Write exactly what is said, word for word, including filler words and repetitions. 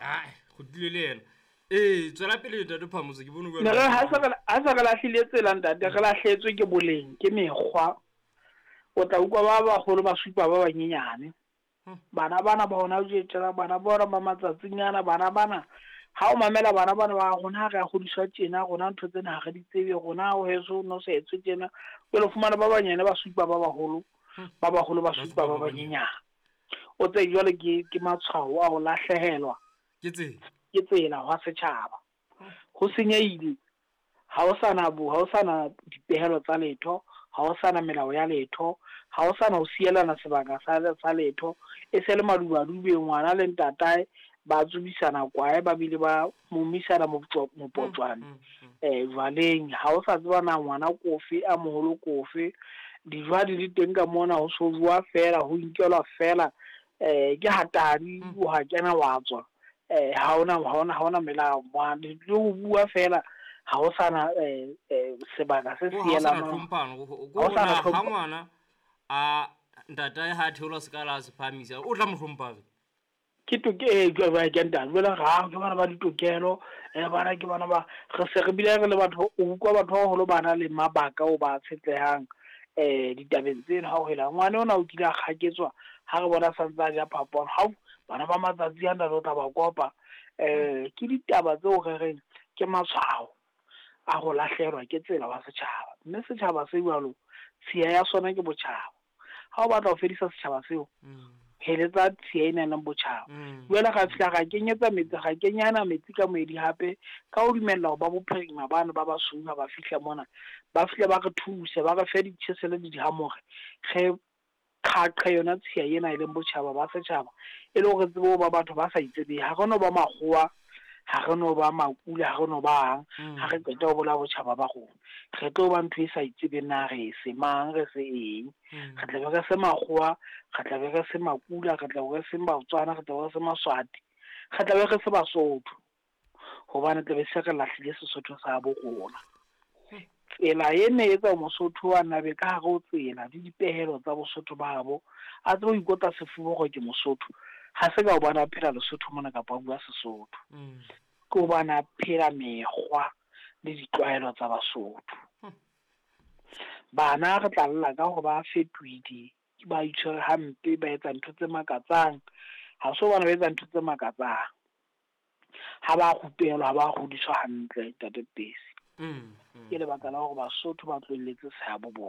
Ai, kgutlile le yena. Ee, tswela pele ntate Phamotse, ke bone o bua Ne re ha se re ha se re lahlile tsela ntate, re lahletswe ke boleng, ke mekgwa. O tla utlwa ba baholo ba supa ba banyenyane. Bana bana ba hona tjena, bana bona ba matsatsing ana, bana bana ha o mamela bana bana ba rona ha re a hodiswa tjena, rona ntho tsena ha re di tsebe, rona ho heso no sa etswe tjena. Jwale o fumana ba banyane ba supa ba baholo, ba baholo ba supa ba banyenyane. O tsebe jwale ke ke matshwao a ho lahlehelwa Ke tsela. ke tsela hwa setjhaba. Ho senyehile, ha ho sana bo, ha ho sana dipehelo tsa letho, ha ho sana melao ya letho, ha ho sana ho sielana sebaka sa sa letho. E se le madubadube ngwana le ntatae ba tsubisana kwae, ba bile ba momisana mopotjwane eh jwaleng. Ha o sa tseba na ngwana kofe a moholo kofe, dijo ha di le teng ka mona ho so jowa fela, ho inkelwa fela. Eh ke hatadi wa kena wa tswa. Eh ha hona ha hona ha hona melao, le ho bua fela ha ho sana eh eh sebaka se Ho ha ho sana sielanang. tlhomphano, ho Ha ho sana ha tlhompho. ngwana a ntatae ha theola sekala a se phahamisa, o tla mo hlompha. Ke toke eh jwale ke ntate jwale ra ke bana ba ditokelo, eh bana ke bana ba re se re bile re le batho, o utlwa batho ba baholo ba na le mabaka o ba tshetlehang eh ditabeng tseno. Ha o hela ngwana ona o kile a kgaketswa ha re bona santse a ja phapang, hao bana ba matsatsi ana re tla ba kopa. Eh ke ditaba tseo re reng ke matshwao a ho lahlehelwa ke tsela wa setjhaba, mme setjhaba se jwalo tshiya ya sona ke botjhaba. Ha o batla ho fedisa setjhaba seo, heletsa tshiya ena leng botjhaba. Jwale ra fihla ra kenyetsa metsi, ra kenyana metsi ka moedi hape, ka ho dumella hore ba bophirima bano ba basweu ha ba fihla mona, ba fihle ba re thuse, ba re fe ditjhesele le dihamore, re qhaqhe yona tshiya ena e leng botjhaba ba setjhaba, e le hore tsebe ho ba batho ba sa itsebeng. Ha re no ba makgowa, ha re no ba makula, ha re no bang, ha re qeta ho bolaya botjhaba ba rona, re tlo ba ntho e sa itsebeng na re se mang, re se eng. Re tla be re se makgowa, re tla be re se makula, re tla be re se Batswana, re tla be re se Maswati, re tla be re se Basotho, hobane tla be se re lahlile Sesotho sa bo rona. Tsela e ne etsa Mosotho a nabe ka hare ho tsela le dipehelo tsa Bosotho ba habo, a tsebe ho ikotla sefuba hore ke Mosotho. Ha se ka hobane a phela Lesotho mona kapa a bua Sesotho, ke hobane a phela mekgwa le ditlwaelo tsa Basotho. Bana re tla lla ka hore ba fetohile, ba itshwere hampe, ba etsa ntho tse makatsang. Ha se hobane ba etsa ntho tse makatsang, ha ba rupelwa, ha ba hodiswa hantle ntate Pesi. Ke lebaka la hore Basotho ba tlohelletse sehabo bona.